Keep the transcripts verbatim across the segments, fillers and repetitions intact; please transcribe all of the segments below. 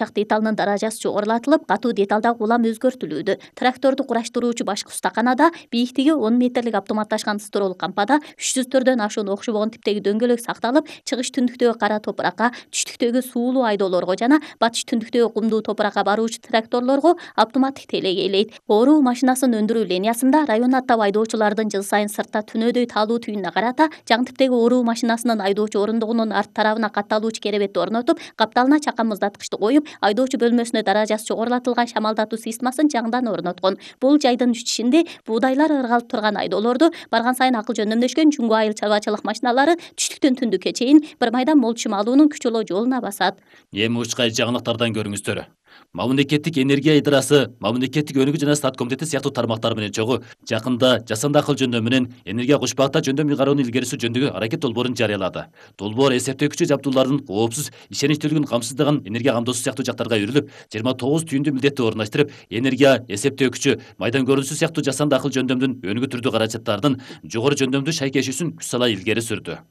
Так деталынын даражасы жогорулатылып, катуу деталдагы улам өзгөртүлүүдө. Тракторду кураштыруучу башкы устаканада бийиктиги он метрлик автоматташкан строолук кампада үч жүздөрдөн ашуун окшобогон типтеги дөңгөлөк сакталып, чыгыш түндүктөгү кара топуракка, түштүктөгү суулуу айдоолорго жана батыш түндүктөгү кумдуу топуракка баруучу тракторлорго автоматтык телегейлейт. Оруу машинасын өндүрүү линиясында район аттап айдоочулардын жыл сайын сыртта түнөдөй таалуу түйүнүнө карата жаңы типтеги оруу машинасынын айдоочу орундугунун арт тарабына катталуучу керебетти орнотуп, капталына чакан муздаткычты коюп, айдоочу бөлмөсүнө даражасы жогорулатылган шамалдатуу системасын жаңыдан орноткон. Бул жайдын ичинде буудайлар ыргалып турган айдоолорду барган сайын акыл жөндөмдөшкөн жүнгө айыл чарбачылык машиналары түштүктөн түндүккө чейин бир майда мол чым алуунун күчөлөө жолуна басат. Эми учкай жаңылыктардан көрүңүздөр. Мамлекеттик энергия идарасы, мамлекеттик өнүгүү жана саат комитети сыяктуу тармактар менен чогуу жакында жасанды акыл жөндөм менен энергия кошпакта жөндөм ыйгаруунун илгери суруу жөнүндөгү аракет долбоорун жарыялады. Долбоор эсептөөкүчү жабдуулардын коопсуз, ишеничтүүлүгүн камсыздаган энергия камдоосу сыяктуу жактарга үйрүлүп, жыйырма тогуз түйүндүү милдетти орундаштырып, энергия эсептөөкүчү, майдан көрүнүшү сыяктуу жасанды акыл жөндөмдүн өнүгүү түрдүү каражаттардын жогору жөндөмдүү шайкешүүсүн күч сала илгери сүрдү.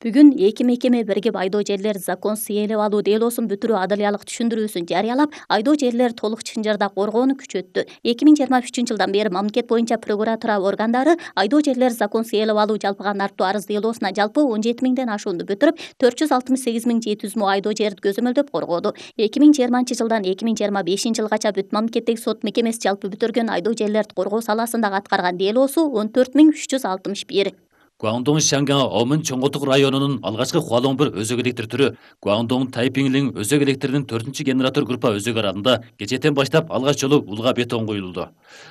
Бүгүн эки мекеме биригип айдоо жерлер законсуз ээлеп алуу делосун бүтүрүү адылиялык түшүндүрүүсүн жарыялап, айдоо жерлер толук чынжырда коргоону күчөттү. эки миң жыйырма үчүнчү жылдан бери мамлекет боюнча прокуратура органдары айдоо жерлер законсуз ээлеп алуу жалпыга нарттуу арыз делосуна жалпы он жети миңден ашууну бүтүрүп, төрт жүз алтымыш сегиз миң жети жүз мо айдоо жерди көзөмөлдөп коргоду. эки миң жыйырманчы жылдан эки миң жыйырма бешинчи жылгача бүт мамлекеттик сот мекемеси жалпы бүтүргөн айдоо жерлерди коргоо саласындагы аткарган делосу он төрт миң үч жүз алтымыш бир. Гуандong Шанга Омын Чоңготук районунун алгачкы Хуалоң бир өзөк электр түрү Гуандong Тайпиңлин өзөк электринин төртүнчү генератор группа өзөк аралында кечээден баштап алгач жолу улга бетон куюлду.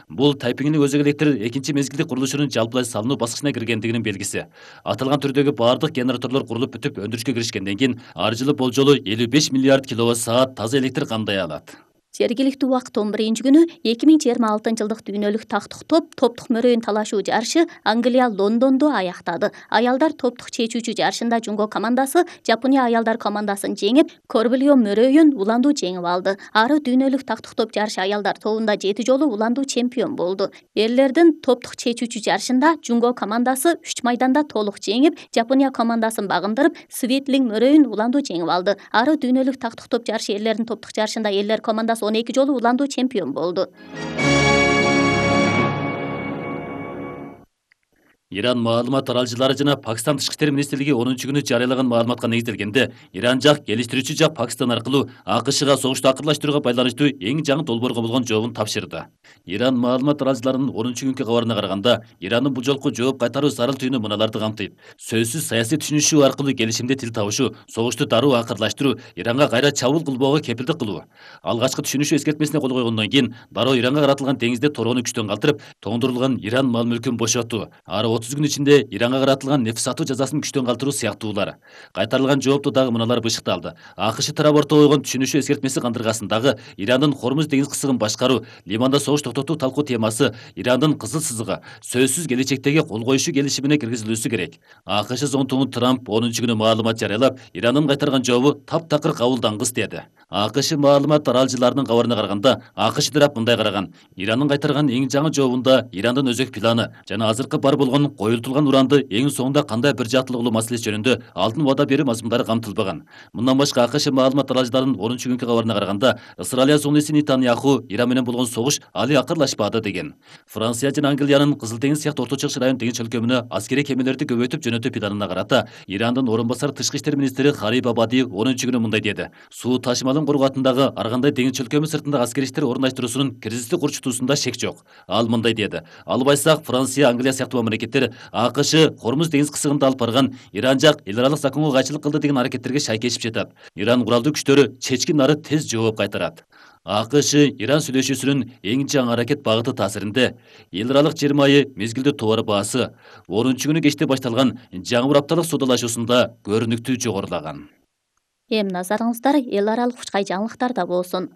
Бул Тайпиңлин өзөк электр экинчи мезгилдик курулушунун жалпылай салынуу баскычына киргендигинин белгиси. Аталган түрдөгү бардык генераторлор курулуп бүтүп өндүрүшкө киришкенден кийин ар жылы болжолу элүү беш миллиард киловатт саат таза электр кандай алат. Жергиликтүү убакыт он биринчи күнү эки миң жыйырма алтынчы жылдык дүйнөлүк тактык топ топтук мөрөйүн талашуу жарышы Англия Лондондо аяктады. Аялдар топтук чечүүчү жарышында Жунго командасы Жапония аялдар командасын жеңип, Корбильо мөрөйүн уландуу жеңип алды. Ары дүйнөлүк тактык топ жарышы аялдар тобунда жети жолу уландуу чемпион болду. Эрлердин топтук чечүүчү жарышында Жунго командасы үч майданда толук жеңип, Жапония командасын багындырып, Светлин мөрөйүн уландуу жеңип алды. Ары дүйнөлүк тактык топ жарышы эрлердин топтук жарышында элдер командасы он эки жолу уландуу чемпион болду. Иран маалымат аралчылары жана Пакистан тышкы иштер министрлиги онунчу күнү жарыялаган маалыматка негизделгенде, Иран жак келиштирүүчү жак Пакистан аркылуу АКШга согушту акырлаштырууга байланыштуу эң жаңы долбоорго болгон жообун тапшырды. Иран маалымат аралчыларынын онунчу күнкү кабарына караганда, Ирандын бул жолку жооп кайтаруу зарыл түйүнү мыналарды камтыйт. Сөзсүз саясий түшүнүшүү аркылуу келишимде тил табышуу, согушту дароо акырлаштыруу, Иранга кайра чабуул кылбоого кепилдик кылуу. Алгачкы түшүнүшүү эскертмесине кол койгондон кийин дароо Иранга каратылган деңизде тороону күчтөн калтырып, тоңдурулган Иран мал мүлкүн бошотуу, ары отуз күн ичинде Иранга каратылган нефть сатуу жазасын күчтөн калтыруу сыяктуулар. Кайтарылган жоопто дагы мыналар бышыкталды. АКШ тарап ортого койгон түшүнүшүү эскертмеси кандыргасындагы Ирандын Хормуз деңиз кысыгын башкаруу, Ливанда согуш токтотуу талкуу темасы, Ирандын кызыл сызыгы сөзсүз келечектеги кол коюшу келишимине киргизилүүсү керек. АКШ зонтугу Трамп онунчу күнү маалымат жарыялап, Ирандын кайтарган жообу таптакыр кабылдангыс деди. АКШ маалымат аралчыларынын кабарына караганда, АКШ тарап мындай караган: Ирандын кайтарган эң жаңы жообунда Ирандын өзөк планы жана азыркы бар болгон коюлтулган уранды эң соңунда кандай бир жааттуулук кылуу маселеси жөнүндө алдын убада берүү мазмундары камтылбаган. Мындан башка АКШ маалымат аралчыларынын онунчу күнкү кабарына караганда, Ысыралия зонуси Нетаньяху Иран менен болгон согуш али акырлашпады деген. Франция жана Англиянын Кызыл деңиз сыяктуу Орто Чыгыш район деңиз чөлкөмүнө аскерий кемелерди көбөйтүп жөнөтүү планына карата Ирандын орун басар тышкы иштер министри Хариб Абади онунчу күнү мындай деди: Суу ташымалын коргоотундагы ар кандай деңиз чөлкөмү сыртындагы аскерий иштер орундаштыруусунун кризистик урчутуусунда шек жок. Ал мындай деди: Албайсак Франция, Англия сыяктуу мамлекеттер АКШ Хормуз деңиз кысыгында алып барган Иран жак эл аралык законго кайчылык кылды деген аракеттерге шайкешип жатат. Иран куралдуу күчтөрү чечкин ары тез жооп кайтарат. АКШ Иран сүйлөшүүсүнүн эң жаңы аракет багыты таасиринде эл аралык жыйырма айы мезгилдүү товар баасы онунчу күнү кечте башталган жаңы бир апталык соодалашуусунда көрүнүктүү жогорулаган. Эми назарыңыздар эл аралык учкай жаңылыктарда болсун.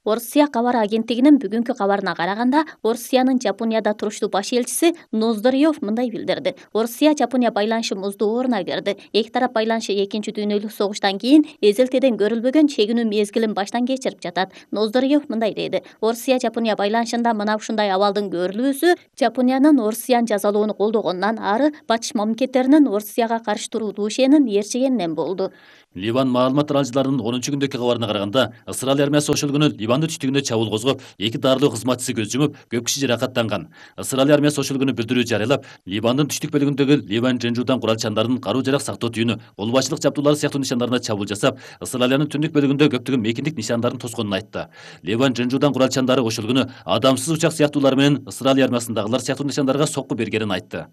Орусия кабар агенттигинин бүгүнкү кабарына караганда, Орусиянын Жапонияда туруштуу баш элчиси Ноздорьев мындай билдирди: Орусия Жапония байланышы муздуу оруна берди. Эки тарап байланышы экинчи дүйнөлүк согуштан кийин эзелтеден көрүлбөгөн чегинүү мезгилин баштан кечирип жатат. Ноздорьев мындай деди: Орусия Жапония байланышында мына ушундай абалдын көрүлүүсү Жапониянын Орусияны жазалоону колдогонунан ары батыш мамлекеттеринин Орусияга каршы туруу душенин ээрчигенинен болду. Ливан маалымат аралжыларынын онунчу күндөгү кабарына караганда, Ысырайыл армиясы ошол күнү Ливандын түштүгүндө чабуул козгоп, эки дарылоо кызматчысы көз жумуп, көп киши жаракаттанган. Ысырайыл армиясы ошол күнү билдирүү жарыялап, Ливандын түштүк бөлүгүндөгү Ливан Женжудан курал-чандардын каруу-жарак сактоо түйүнү, кол башчылык жабдуулары сыяктуу нишандарына чабуул жасап, Ысырайылдын түндүк бөлүгүндө көптөгөн мейкиндик нишандарын тосконун айтты. Ливан Женжудан курал-чандары ошол күнү адамсыз учак сыяктуулар менен Ысырайыл армиясындагылар сыяктуу нишандарга сокку бергенин айтты.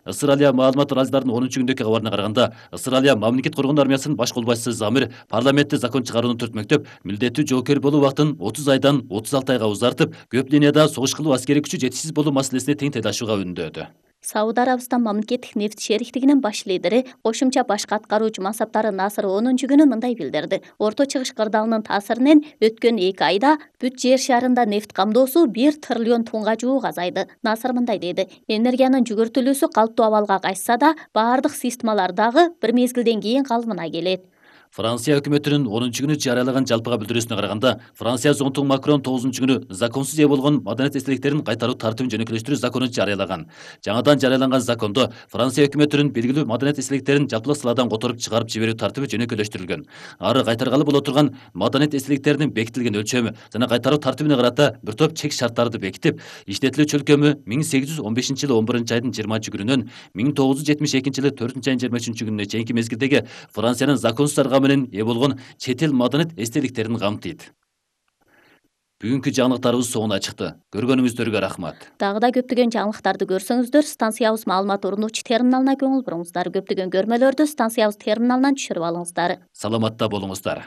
Ысырайыл маалымат аралжыларынын онунчу күндөгү кабарына караганда, Ысырайыл мамлекет коргоон армиясынын баш кол башчысы Замир парламентте закон чыгарууну түртмөктөп, милдеттүү жоокер болуу убактын отуз айдан отуз алты айга узартып, көп линияда согуш кылуу аскерий күчү жетишсиз болуу маселесине тең тайлашууга үндөдү. Сауд Арабистан мамлекеттик нефть шериктигинин баш лидери, кошумча башкы аткаруучу мансаптары Насыр онунчу күнү мындай билдирди. Орто Чыгыш кырдаалынын таасиринен өткөн эки айда бүт жер шарында нефть камдоосу бир триллион тоннга жуук азайды. Насыр мындай деди: энергиянын жүгүртүлүүсү калыптуу абалга кайтса да, баардык системалар дагы бир мезгилден кийин калыбына келет. Франция өкмөтүнүн онунчу күнү жарыялаган жалпыга билдирүүсүнө караганда, Франция зонтугу Макрон тогузунчу күнү законсуз ээ болгон маданият эстеликтерин кайтаруу тартибин жөнөкөлөштүрүү законун жарыялаган. Жаңадан жарыяланган закондо Франция өкмөтүнүн белгилүү маданият эстеликтерин жалпылык саладан которуп чыгарып жиберүү тартиби жөнөкөлөштүрүлгөн. Ары кайтаргалы боло турган маданият эстеликтеринин бекитилген өлчөмү жана кайтаруу тартибине карата бир топ чек шарттарды бекитип, иштетилүү чөлкөмү миң сегиз жүз он бешинчи жылы он биринчи айдын жыйырманчы күнүнөн миң тогуз жүз жетимиш экинчи жылы төртүнчү айдын жыйырма үчүнчү күнүнө чейинки мезгилдеги Франциянын законсуз аргамы менен ээ болгон чет эл маданият эстеликтерин камтыйт. Бүгүнкү жаңылыктарыбыз соңуна чыкты. Көргөнүңүздөргө рахмат. Дагы да көптөгөн жаңылыктарды көрсөңүздөр, станциябыз маалымат орнотуучу терминалына көңүл буруңуздар. Көптөгөн көрмөлөрдү станциябыз терминалынан түшүрүп алыңыздар. Саламатта болуңуздар.